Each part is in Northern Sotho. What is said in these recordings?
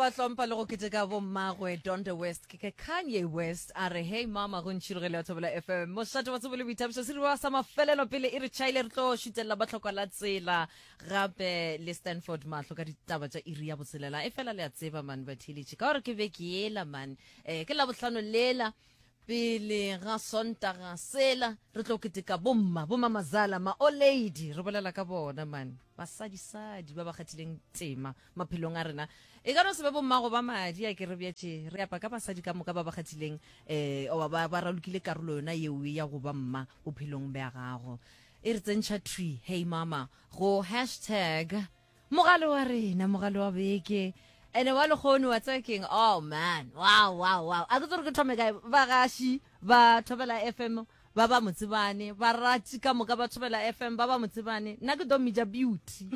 ba hlompha le go keteka bommagwe Donda West ke ke Kanye West a re hey mama go ntšhirogele ya Thobela FM mošate wa tsebo le boithabišo seriwa sa mafelelo pele e re tšhaile re tlo šutelela ba tlhokwa la tsela gape le Stanford mahlo ka ditaba tša iri ya botshelela e fela le a tseba man batheeletši ka gore ke beke yela man eh, ke labohlano lela Pele ga Sontaga sela re tlo keteka bomma, bomamazala, ma-olady, re bolela ka bona man, basadisadi ba ba kgathileng tema maphelong a rena. E ka no se be bommago ba madi a ke re bjetše, re apa ka basadi ka moka ba ba kgathileng um oba ba, ba ralokile karolo yona yeo ya go ba mma bophelong bja gago. E re tsentšha thwi, hey mama, go hashtag Mogale wa rena, mogale wa beke. Ene wa lekgono wa tseba keng? Oh man, wow, wow, wow. A ke tsore ke thome kae? Bagaši ba Thobela FM ba ba motsebane, barati ka moka ba Thobela FM ba ba motsebane. Nna ke tlo mmitša Beauty.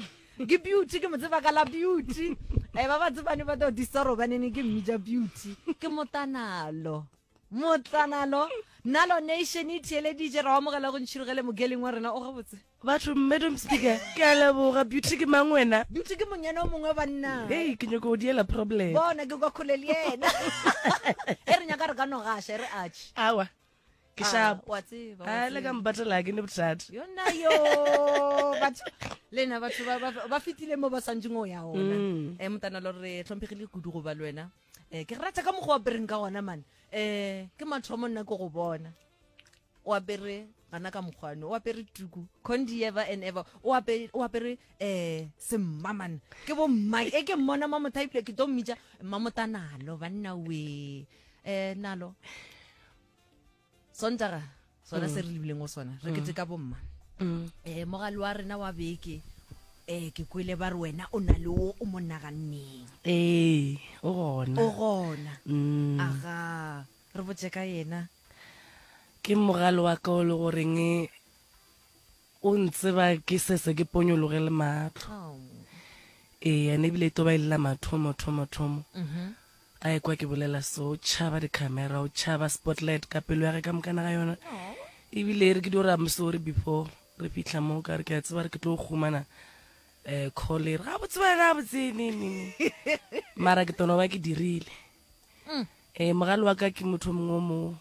Ke Beauty, ke mo tseba ka la Beauty. Eh, ba ba tsebane ba tlo disoro banene ke mmitša Beauty. Ke motanalo. Motlanalo, Nalo Nation e theeleditše, ra o amogela go ntšhirogele mogeling wa rena o gabotse. Batho, Madam Speaker, ke a leboga. Beauty ke mang wena? Beauty ke monyana o mongwe banna. Hei, ke nyoko go diela problem. Bona, ke kwa kgole le yena. E re nyaka re ka no gaša, e re atšhe. Awa, ke Ah, sharp. wa tseba, wa A le ka tseba. mpatela ke ne bothata. Yona yo, batho, lena batho ba, ba, ba fetile mo ba swantšeng o ya ona. Mm. Eh, Motanalo re hlomphegile kudu go ba le wena. Eh, ke rata ka mokgwa o apereng ka gona man. Eh, ke mathomo nna ke go bona. O apere gana ka mokgwano, o apere tuku, condi ever and ever. O apere o apere eh semma man. Ke bo mma e ke mmona ma mothaipile ke tlo mmitša mmamotanalo banna we. Eh nalo. Sontaga sona se re lebileng go sona re keteka bomma um mogale wa rena wa beke um ke kwele ba re wena o na le wo o mo naganneng Ee, o gona. o gona Mm. aga re botše ka yena Ke mogale wa ka o le goreng O ntseba ke sese ke ponyologe le mahlo. Oh. Ee, ene ebile e tlo ba e le la mathomo, thomo, thomo. A ekwa ke bolela so, o tšhaba di-camera, o tšhaba spotlight ka pelo ya ge ka mokana ga yona. Ebile e re ke dio re I'm sorry before re fihla mo, ka re ke a tseba re ke tlo humana um call e re gabotse wena gabotse ne ne ne. Mara ke tono ba ke dirile. Ee, mogale wa ka ke motho o mongwe o mo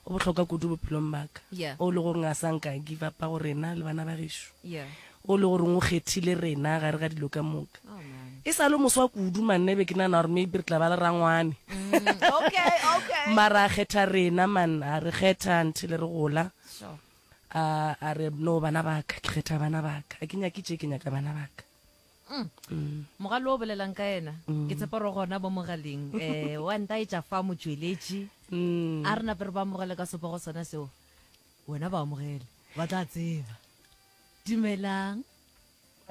o bohlokwa kudu bophelong ba ka Yeah. o le goreng a sa nka give up-a go rena le bana ba gešo Yeah. o le goreng o kgethile rena gare ga dilo ka moka Oh man. e sa le moswa kudu manne be ke nana gore maybe re tla ba le rangwane Mm, okay, okay. mara a kgetha rena man a re kgetha until re gola Sure. a a re no bana ba ka ke kgetha bana ba ka a ke nyake tše ke nyaka bana ba ka Mm. Mogale o bolelang ka yena ke tshepa gore gona mo mogaleng um wa ntaetša fa motšweletši a re nape re ba amogele ka sepogo sona seo wena ba amogele ba tla tseba dumelang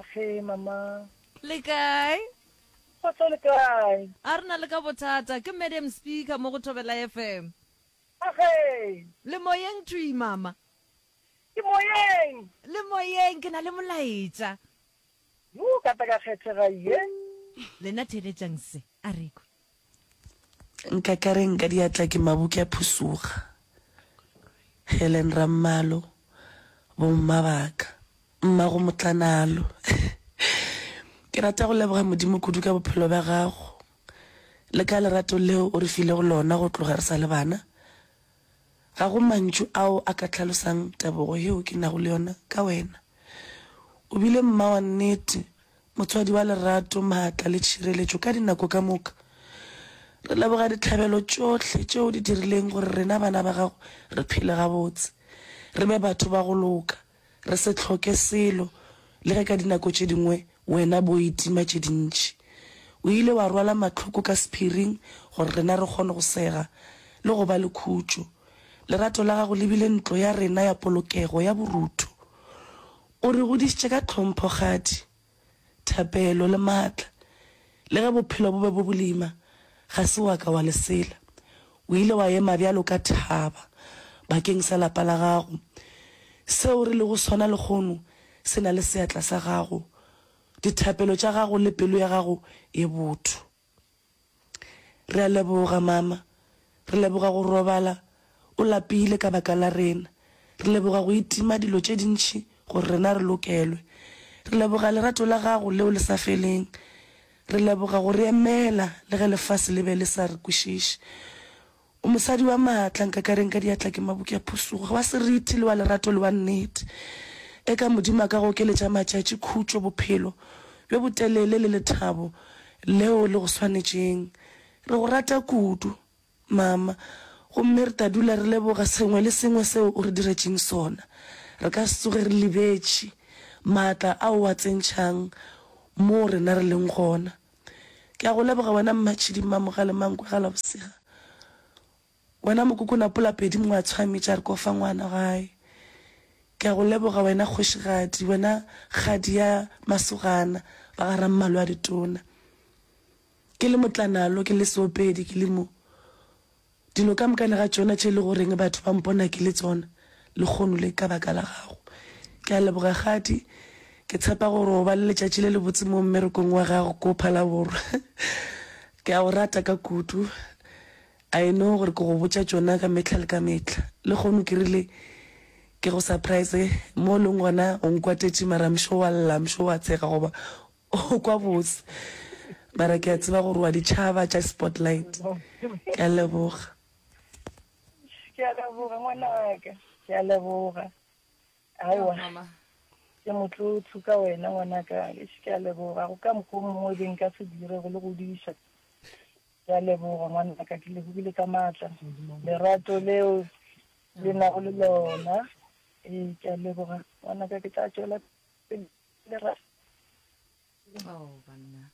Ge mama. Le kae? Kgotso le kae? A re na le ka bothata ke madam speaker mo go Thobela FM. Age. Le moyeng thwi mama. Ke moyeng. Le moyeng ke na le molaetša. Yoo ka tla ka kgethega ye. Lena theeletšang se, a re kwe. Nkakareng ka diatla ke maboke a phusuga. Helen Rammalo, Bomma ba ka, mmago Motlanalo. Ke rata go leboga Modimo kudu ka bophelo bja gago le ka lerato leo o re filego lona go tloga re sa le bana. Ga go mantšu ao a ka hlalosang tebogo yeo ke nago le yona ka wena. O bile mma wa nnete, motswadi wa lerato, maatla le tšhireletšo ka dinako ka moka. Re leboga dihlabelo tšohle tšeo o di dirileng gore rena bana ba gago re phele gabotse, re be batho ba go loka, Re se hloke selo, le ge ka dinako tše dingwe wena bo itima tše dintši. O ile wa rwala mahloko ka sephiring gore rena re kgone go sega le go ba le khutšo. Lerato la gago le bile ntlo ya rena ya polokego ya borutho. O re godišitše ka tlhompho, kgadi. thapelo le matla. Le ge bophelo bo be bo bolima, ga se wa ka wa lesela. O ile wa ema bjalo ka thaba bakeng sa lapa la gago. Seo re lego sona lehono se na le seatla sa gago, dithapelo tša gago le pelo ya gago ye botho. Re a leboga, mama. Re leboga go robala o lapile ka baka la rena. Re leboga go itima dilo tše dintši gore rena re lokelwe. Re leboga lerato la gago leo le sa feleng. Re leboga go re emela le ge lefase le be le sa re kwešiše. O mosadi wa maatla, nkakareng ka diatla ke maboki a phusuga, wa seriti le wa lerato le wa nnete. Eka Modimo a ka go okeletša matšatši, khutšo, bophelo bjo botelele le lethabo leo le go swanetšeng. Re go rata kudu, Mama, gomme re tla dula re leboga sengwe le sengwe seo o re diretšeng sona. Re ka se tsoge re lebetše maatla ao o a tsentšhang moo rena re leng gona. Ke a go leboga wena Mmatšhidi Mmamogale Mankwe Galabosega, wena Mokokonapola Pedi Mongwatshwami tša re kofa ngwana gae. Ke a go leboga wena Kgošigadi, wena kgadi ya masogana ba ga Rammalo a ditona. Ke le motlanalo, ke le seopedi, ke le mo. Dilo ka mokana ga tšona tše e le goreng batho ba mpona ke le tsona lehono le ka baka la gago. Ke a leboga Kgadi. Ke tshepa gore o ba le letšatši le lebotse mo mmerekong wa gago ko Phalaborwa. Ke a go rata ka kudu. I know gore ke go botša tšona ka mehla le ka mehla. Lehono ke rile ke go surprise mo o leng gona o nkwatetše mara I'm sure wa lla, I'm sure wa tshega goba O kwa bose. Mara ke a tseba gore wa di tšhaba tša spotlight. Ke a leboga. Ke a leboga ngwanaka. Ke a leboga. Aowa. Ke motlotlo ka wena ngwanaka. Eish ke a leboga. Go ka mokgwa o mongwe be nka se dire go le godiša. Ke a leboga ngwanaka. Ke lebogile ka maatla. Lerato leo le nago le lona. Ee, ke a leboga ngwanaka. Ke tla tšwela pele. Oh, banna.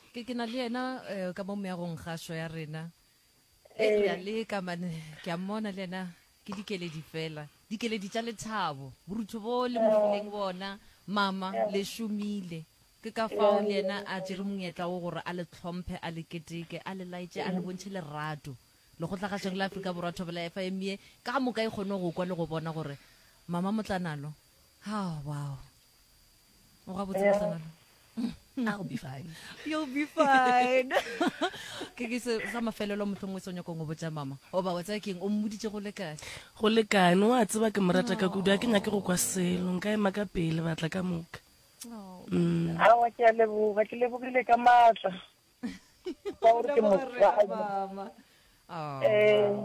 Ke ke na le yena eh, ka mo meagong gašo ya rena. E re a leka mane, ke a mmona le yena ke dikeledi fela. Dikeledi tša lethabo, borutho bo le mo fileng bona, mama le šomile. Ke ka fao le yena a tšere monyetla wo gore a le hlomphe, a le keteke, a le laetše, a le bontšhe lerato. Lekgotlagašong la Afrika Borwa Thobela FM ye ka moka e kgone go kwa le go bona gore mama Motlanalo Oh, wow. O gabotse yeah. Motlanalo. I'll be fine. You'll be fine. Ke ke se sa mafelelo mohlomongwe se o nyakong go botša mama. O ba wa tsaya keng o mmoditše go lekane. Go lekane wa tseba ke mo rata ka kudu a ke nyake go kwa selo nka ema ka pele batla ka moka. Oh. Mm. Awa ke a leboga ke lebogile ka maatla. Ka gore ke motswadi. Mama. Oh. Eh.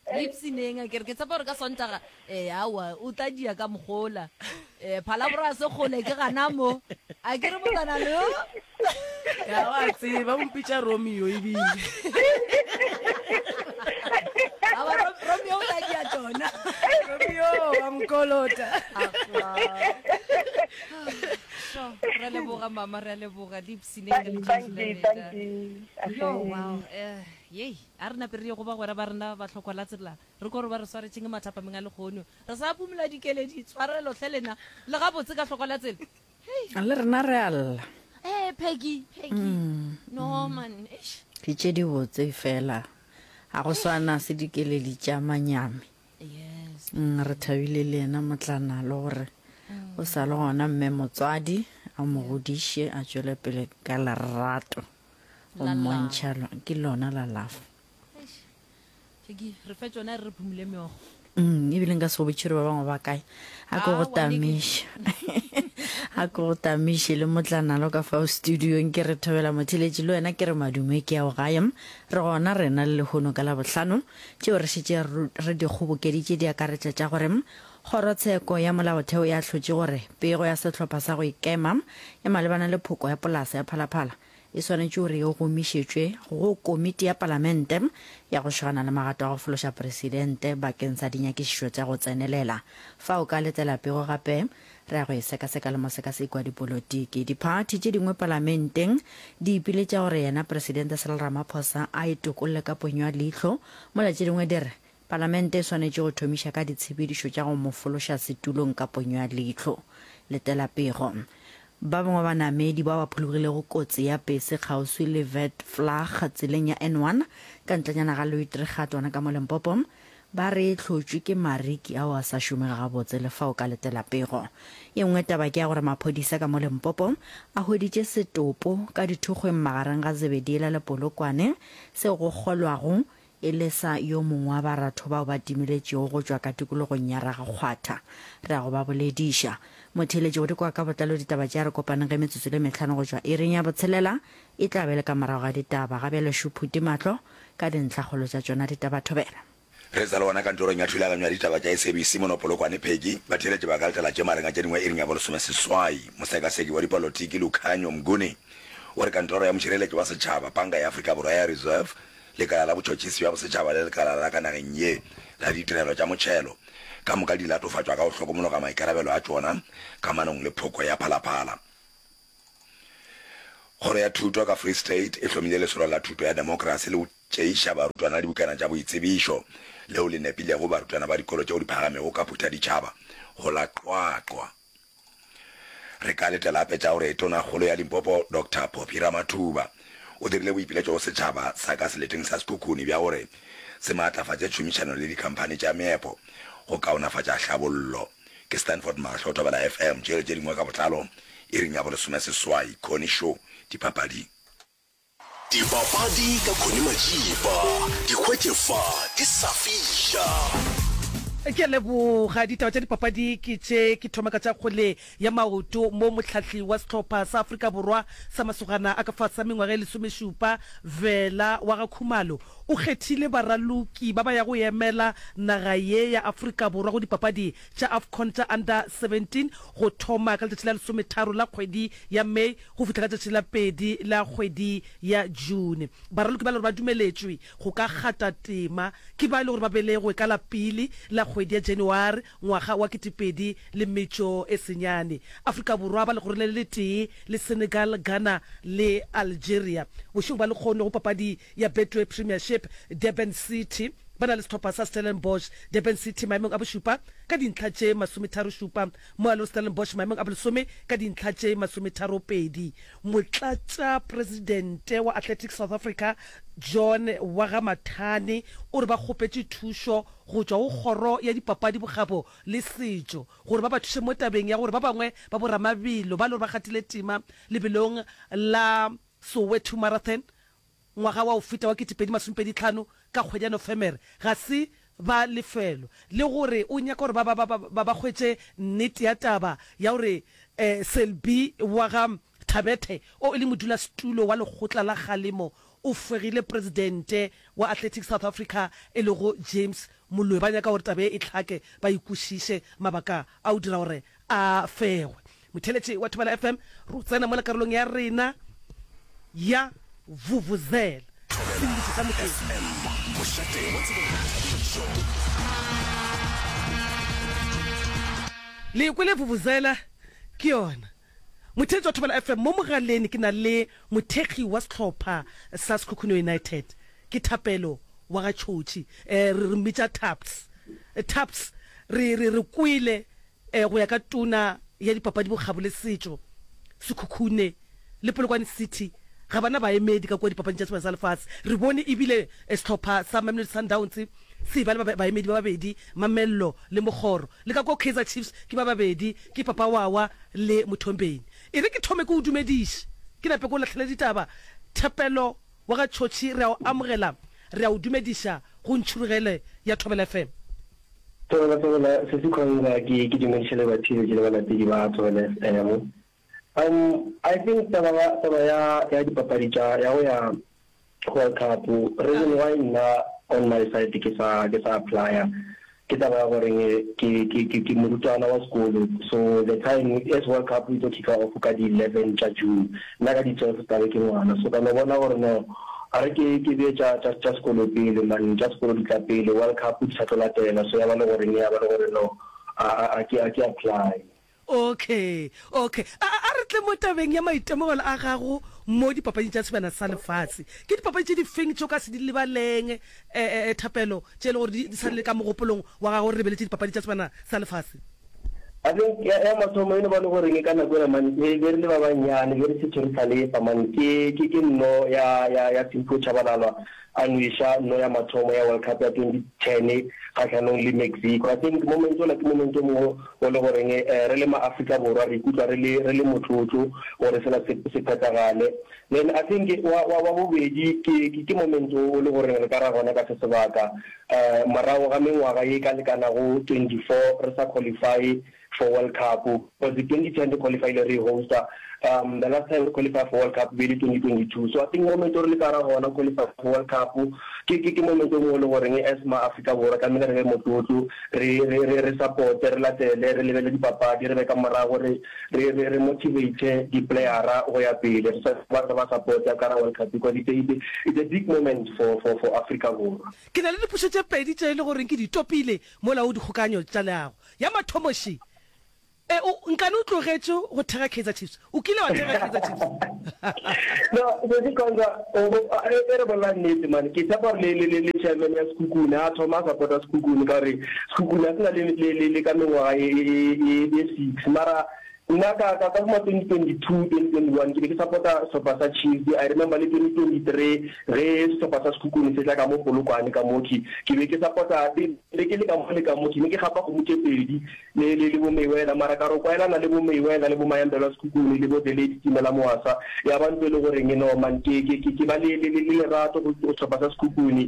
Lipsineng a kere ke tshepa gore ka Sontaga eh aowa o tla dia ka mogola eh phalabora se kgole ke gana mo a kere motsana lo ya wa tseba o mpitša Romeo ebile Awa Romeo o tla dia tšona Romeo wa nkolota Sure, re leboga mama re a leboga lipsineng ka letšatši la lena yo wow eh yei A re nape re ye go bagwera ba rena ba hlokwa la tsela, re kwe gore ba re swaretšeng mathapameng a lehono. Re sa phumola dikeledi, tshwarelo hle lena. Le gabotse ka hlokwa la tsela? Hei. Le rena re a lla. Eh, Peggy, Peggy. No, man, eish. Ke tše dibotse fela ga go swana se dikeledi tša manyami. Yes. Re thabile le yena Motlanalo gore o sa le gona mme motswadi a mo godiše a tšwele pele ka lerato. Go mmontšha ke lona la love. Eish. Re fe tšona re re phumule meokgo. Mm, ebile nka se go botše gore ba bangwe ba kae. A ke go tamiše. A ke go tamiše le motlanalo ka fao studiong ke re thobela motheletši le wena ke re madume ke ao gae. Re gona rena le lehono ka Labohlano. Tšeo re šetše re di kgobokeditše di akaretša tša gore Kgorotsheko ya Molaotheo e ahlotše gore pego ya sehlopha sa go ikema ya malebana le phoko ya polasa ya Phalaphala e swanetše gore e gomišetšwe go Komiti ya Palamente ya go šogana le magato a go fološa Presidente bakeng sa dinyakišišo tša go tsenelela. Fa o ka letela pego gape, re ya go e sekaseka le mosekaseki wa dipolotiki. Diphathi tše dingwe Palamenteng di ipiletša gore yena Presidente Cyril Ramaphosa a e tokolle ka ponyo ya leihlo, mola tše dingwe di re Palamente e swanetše go thomiša ka ditshepedišo tša go mo fološa setulong ka ponyo ya leihlo. Letela pego. Ba bangwe ba banamedi bao ba phologilego kotsi ya pese kgauswi le Vet Vlag tseleng ya N1 ka ntlenyana ga Louis-Trichardt gona ka mo Limpopo ba re e hlotšwe ke mariki ao a sa šomego gabotse le fao ka letela pego. Ye nngwe taba ke ya gore maphodisa ka mo Limpopo a hweditše setopo ka dithokgweng magareng ga Zebediela le Polokwane seo go kgolwago e le sa yo mongwe wa baratho bao ba timeletšego go tšwa ka tikologong ya Ragakgwatha. Re ya go ba bolediša. Motheeletši go di kwa ka botlalo ditaba tše a re kopaneng ge metsotso le mehlano go tšwa iring ya botshelela e tla be le ka morago ga ditaba. Ga bjale šo Phuti Mahlo ka dintlhakgolo tša tšona ditaba thobela. Re sa le gona kantorong ya thulaganyo ya ditaba tša SABC mono Polokwane, Peggy, batheeletši ba ka letela tše magareng a tše dingwe iring ya bolesomeseswai. Mosekaseki wa dipolotiki Lukhanyo Mnguni o re kantoro ya mošireletši wa setšhaba, Panka ya Afrika Borwa ya Reserve, Lekala la Botšhotšhisi bja Bosetšhaba le Lekala la ka nageng ye la Ditirelo tša Motšhelo ka moka di latofatšwa ka go hlokomologa maikarabelo a tšona kamanong le phoko ya Phalaphala. Kgoro ya Thuto ka Free State e hlomile lesolo la thuto ya demokrasi le go tšeiša barutwana dibukana tša boitsebišo leo le nepilego barutwana ba dikolo tšeo di phagamego ka Phuthaditšhaba go la Qwaqwa. Re ka letela gape tša gore Tonakgolo ya Limpopo Doctor Phophi Ramathuba o dirile boipiletšo go setšhaba sa ka seleteng sa Sekhukhune bja gore se maatlafatše tšhomišano le dikhamphani tša meepo go kaonafatša hlabollo. Ke Stanford Mahlo, Thobela FM, tšele tše dingwe ka botlalo iring ya bolesomeseswai. Connie Show, Dipapading. Dipapadi ka Connie Majiba, di hwetše fa di sa fiša. Ke a leboga. Ditaba tša dipapadi ke tše. Ke thoma ka tša kgwele ya maoto mo mohlahli wa sehlopha sa Afrika Borwa sa masogana a ka fase ga mengwaga e lesomešupa, Vela wa ga Khumalo, o kgethile baraloki ba ba ya go emela naga ye ya Afrika Borwa go dipapadi tša AFCON tša Under 17 go thoma ka letšatši la lesometharo la kgwedi ya May go fihla ka tšatši la pedi la kgwedi ya June. Baraloki ba le gore ba dumeletšwe go ka kgata tema ke ba e le gore ba belegwe ka la pele la kgwedi ya January ngwaga wa 2009. Afrika Borwa ba legorong le le letee le Senegal, Ghana le Algeria. Bošego ba lekgono go papadi ya Betway Premiership, Durban City ba na le sehlopha sa Stellenbosch. Durban City maemong a bošupa ka dintlha tše masometharošupa Moalo Stellenbosch maemong a bolesome ka dintlha tše masometharopedi. Motlatšapresidente wa Athletics South Africa John Wagamathane o re ba kgopetše thušo go tšwa go Kgoro ya Dipapadi, Bokgabo le Setšo gore ba ba thuše mo tabeng ya gore ba bangwe ba boramabelo ba le gore ba kgathile tema lebelong la Soweto Marathon Ngwaga wa go feta wa 2025 ka kgwedi ya Nofemere ga se ba lefelwa, le gore o nyaka gore ba ba ba ba ba hwetše nnete ya taba ya gore Selby wa ga Thabethe o e le modulasetulo wa lekgotla la kgalemo o fegile presidente wa Athletics South Africa e lego James Moloi. Ba nyaka gore taba ye e hlake ba e kwešiše mabaka a go dira gore a fegwe. Motheeletši wa Thobela FM, ro tsena mola karolong ya rena ya Vuvuzela. Thobela FM, mošate wa tsebo le boithabišo. Le kwele Vuvuzela ke yona. Motheeletši wa Thobela FM, mo mogaleng ke na le mothekgi wa sehlopha sa Sekhukhune United, ke Thapelo wa ga Tšhotšhi. Eh, re re mmitša Thaps. Thaps, re re re kwele Go ya ka Tona ya Dipapadi, Bokgabo le Setšo, Sekhukhune le Polokwane City ga ba na baemedi ka kua dipapading tša Sebjana sa Lefase. Re bone ebile sehlopha sa Mamelodi Sundowns se eba le baemedi ba babedi, Mamello le Mokgoro. Le ka kua Kaizer Chiefs ke ba babedi, ke Papa Wawa le Mothombeni. E re ke thome ke o dumediše, ke nape ke o lahlele ditaba. Thapelo wa ga Tšhotšhi, re a o amogela, re a o dumediša go Ntšhurugele ya Thobela FM. Thobela Thobela Sesi Khonza ke ke dumediše le batheeletši le balatedi ba Thobela FM. Um I think taba ya taba ya ya dipapadi tša ya go ya World Cup reason why nna on my side ke sa ke sa applya ke taba ya goreng ke ke ke ke morutwana wa sekolo so the time as World Cup e tlo kicka off ka di 11 tša June Nna ka di 12 tla be ke ngwana, so ka no bona gore no a re ke ke bee tša tša tša sekolo pele man, tša sekolo di tla pele, World Cup di sa tlo latela, so ya ba le gore ya ba le gore no a a a ke a ke apply. Okay, okay. A a re tle mo tabeng ya maitemogelo a gago mo dipapading tša Sebjana sa Lefase. Ke dipapadi tše di feng tše o ka se di lebaleng, eh, eh, Thapelo, tše e le gore di di sa le ka mogopolong wa gago re lebeletše dipapadi tša Sebjana sa Lefase? I think ya, ya mathomo e no ba le goreng ka nako ela man, be, be re le ba bannyane, be re šetše re hlalefa man, ke, ke, ke nno ya, ya, ya Simphiwe Tshabalala a nweša nno ya mathomo ya World Cup ya 2010 kgahlanong le Mexico. I think moment ola ke moment o mongwe o le goreng eh, re le ma-Afrika Borwa re ikutlwa re le, re le motlotlo gore sela se, se phethagale. Then I think wa, wa, wa bobedi ke, ke, ke moment o, o le goreng re ka ra gona ka se sebaka, eh, morago ga mengwaga ye e ka lekanago 24 re sa qualify. for World Cup because 2010 re qualifyile re hosta um the last time re qualify for World Cup be le 2022 so I think moment o re le ka ra gona qualify for World Cup ke ke ke moment o mongwe le goreng as ma Afrika Borwa tlamehile re be motlotlo re re re re support re latele re lebele dipapadi re be ka morago re re re re motivate di playera go ya pele re sa ba re ba support ka ra World Cup because it's a, it's a, it's a big moment for for for Afrika Borwa. Ke na le dipotšišo tše pedi tše e le goreng ke di topile mola o dikgokaganyo tša leago. Ya mathomo še, E, o, nkane o tlogetše go thekga Kaizer Chiefs? O kile wa thekga Kaizer Chiefs? No, Sesi Khonza, o, o, e, e re bolela nnete man, ke tshepa gore le, le, le, le chairman ya Sekhukhune a thoma a support-a Sekhukhune ka gore Sekhukhune a se na le, le, le, le ka mengwaga ye, ye, ye, ye six. Mara nna ka, ka, ka bo ma 2022, 2021 ke be ke support-a sehlopha sa Chiefs. I remember le 2023 ge sehlopha sa Sekhukhune se tla ka mo Polokwane ka mo ke, ke be ke support-a, be ke le ka mo le ka mo, ke ne ke gapa kgomo tše pedi. Le, le, le bo Mayweather, mara ka re o kwaelana le bo Mayweather le bo Mayambelwa Sekhukhune le bo The Lady Timela Moasa, ya ba ntho e le goreng no man, ke, ke, ke, ke ba le, le, le, le lerato go, go sehlopha sa Sekhukhune.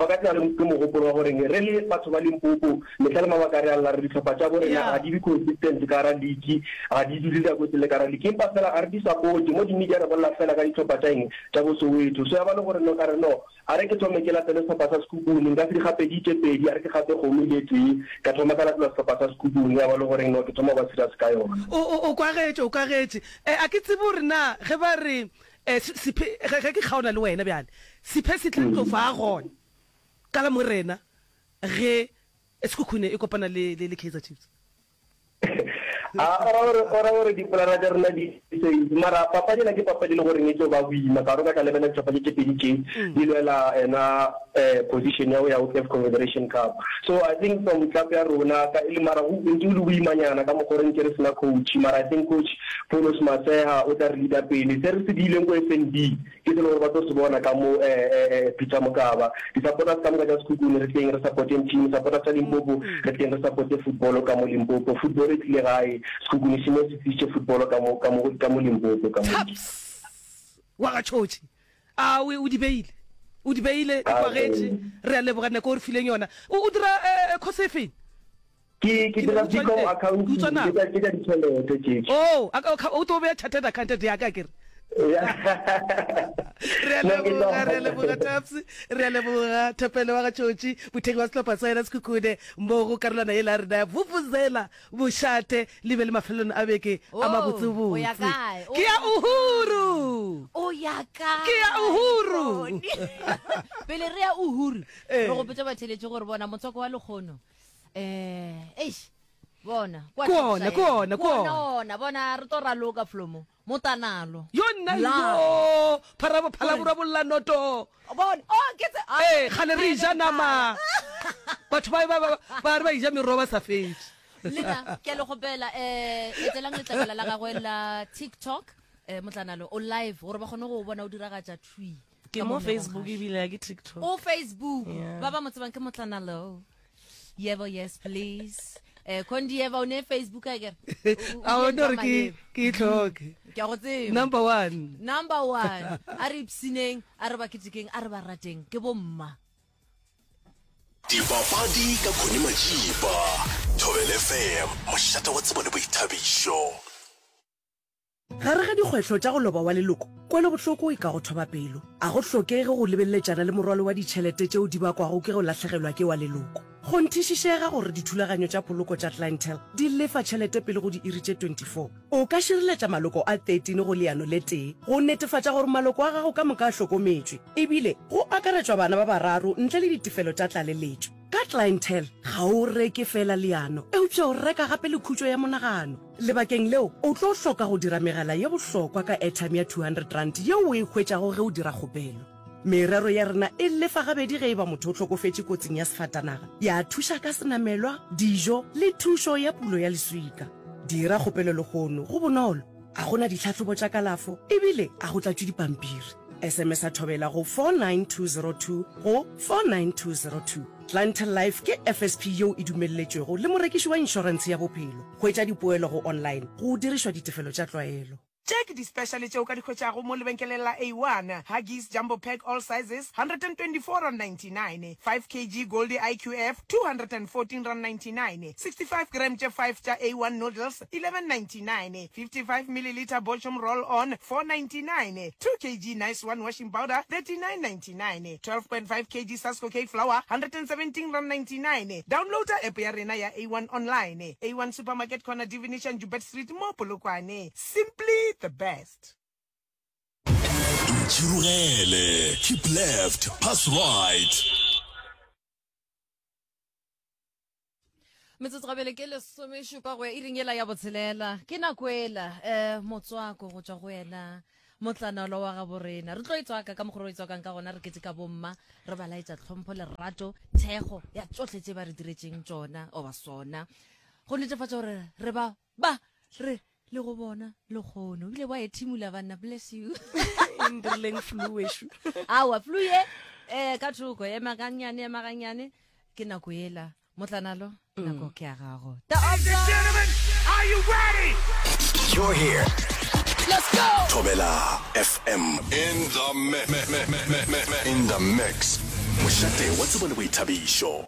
Ba ka tla le ke mogopolo wa goreng re le batho ba Limpopo, mehla le mabaka re a lla re dihlopha tša bo rena ga di be consistent ka gara league, ga di dule nako e telele ka gara league, empa fela ga re di supporte. Mo di media re bolela fela ka dihlopha tša eng, tša bo Soweto. So ya ba le gore no ka re no, A re ke thome ke latele sehlopha sa Sekhukhune, nka se di gape di tše pedi, a re ke gape kgomo e le tee, ka thoma ka latela sehlopha sa Sekhukhune, ya ba le goreng no ke thoma go ba serious ka yona. O, o, o kwagetše, o kwagetše. E, a ke tsebe gore na ge ba re, e, se, sephe, ge, ge ke kgaona le wena bjale, sephe se tla tlo fa gona, ka la Morena, ge Sekhukhune e kopana le, le, le Kaizer Chiefs. A o ra gore o ra gore dipolana tša rena di safe mara papadi ena ke papadi e le goreng e tlo ba boima ka gore o ka tla lebelela dihlopha tše tše pedi tše di lwela ena um position ya go ya go CAF Confederation Cup so I think from club ya rona ka e le mara go ntse o le boimanyana ka mokgwa o re nke re sena coach mara I think coach Paulos Maseha o tla re leader pele se re se diileng ko FNB Ke se le gore ba tlo se bona ka mo Peter Mokaba. Di-supporters ka moka tša Sekhukhune re tleng re supporteng team, supporters tša Limpopo re tleng re supporte football ka mo Limpopo. Football e tlile gae, Sekhukhune se mo se tlišitše football ka mo ka mo ka mo Limpopo ka mo. Taps wa ga Tšhotšhe a o o di beile o di beile di kwagetše re a leboga nako o re fileng yona o o dira course e feng? Ke ke dira BCom accounting, ke tša ke tša ditšhelete tše. Oh, o tlo beya chartered accountant ya ka ke re. Re a leboga, re a leboga Taps, re a leboga Thapelo wa ga Tšotši, mothekgi wa sehlopha sa yena Sekhukhune mo go karolwana yela ya rena ya Vuvuzela Mošate le be le mafelelong a beke a mabotsebotse. Ke ya Uhuru! O ya kae? Ke ya Uhuru! Pele re ya Uhuru, re gopotša batheeletši gore bona motswako wa lekgono Eh, eish. Bona, kwa Ke ona, ke ona, ke ona. ona, bona re tlo raloka flomo. Motanalo. Yo nna yo, pharabo phalabora bolla noto. Bona, oh ke tse. Eh, kgale re ja nama. Batho ba ba ba re ba ija merogo ba sa fetše. Lena, ke a le gopela eh etelang letlakala la gagwe la TikTok. Eh Motlanalo o live gore ba kgone go bona o diragatša thwi. Ke mo Facebook ebile ke TikTok. O Facebook. Ba ba mo tsebang ke Motlanalo. Yebo yes please. Eh Kondi Eva o ne Facebook a kere. A o no re ke ke e tlhoke. Ke a go tseba. Number 1. Number 1. A re ipsineng, a re ba ketekeng, a re ba rateng ke bomma. Dipapadi ka Connie Majiba, Thobela FM, mošate wa tsebo le boithabišo. Gare ga dikgwehlo tša go loba wa leloko, kwelobohloko e ka go thoba pelo. A go hlokege go lebeleletšana le morwalo wa ditšhelete tšeo di bakwago ke go lahlegelwa ke wa leloko. Kgonthišišega gore dithulaganyo tša poloko tša Clientele di lefa tšhelete pele go diiri tše 24. O ka šireletša maloko a 13 go leano le tee go netefatša gore maloko a gago ka moka a hlokometšwe, ebile go akaretšwa bana ba bararo ntle le ditefelo tša tlaleletšo. Ka Clientele, ga o reke feela leano, eupša o reka gape le khutšo ya monagano. Lebakeng leo, o tlo hloka go dira megala ye bohlokwa ka airtime ya R200 yeo o e hwetšago ge o dira kgopelo. Merero ya rena e lefa gabedi ge e ba motho o hlokofetše kotsing ya sefatanaga, ya thuša ka senamelwa, dijo le thušo ya pulo ya leswika. Dira kgopelo lehono, go bonolo, ga go na ditlhahlobo tša kalafo ebile ga go tlatšwe dipampiri. SMS-a Thobela go 49202 go 49202. Clientele Life ke FSP yeo e dumelletšwego le morekiši wa inšorentshe ya bophelo. Hwetša dipoelo go online go dirišwa ditefelo tša tlwaelo. Tše ke di-special tše o ka di hwetšago mo lebenkeleng la A1, Huggies Jumbo Pack all sizes, R124.99, 5 kg Goldie IQF, R214.99, 65 gram tše 5 tša A1 Noodles, R11.99, 55 millilitre Bochum Roll On, R4.99, 2 kg Nice One Washing Powder, R39.99, 12.5 kg Sasko Cake Flour, R117.99. Downloada app ya rena ya A1 online. A1 Supermarket Corner Divination Joubert Street mo Polokwane. Simply the best. Ntšhirogele, keep left, pass right. Metsotso gabele ke lesomešupa go ya iring yela ya botshelela. Ke nako ela um motswako go tšwa go yena motlanalo wa gabo rena. Re tlo e tswaka ka mokgwa re e tswakang ka gona, re kete ka bomma, re ba laetša tlhompho, lerato, thekgo ya tšohle tše ba re diretšeng tšona oba sona. Go netefatša gore re ba ba re le go bona lekgono ebile wa ethimula banna bless you Ndirleng flu wešo. Awa flu ye eh ka thoko ema gannyane ema gannyane ke nako yela motlanalo nako ke ya gago Ladies and gentlemen, are you ready? You're here. Let's go. Thobela FM. In the mix. In the mix. Mošate wa tsebo le boithabišo.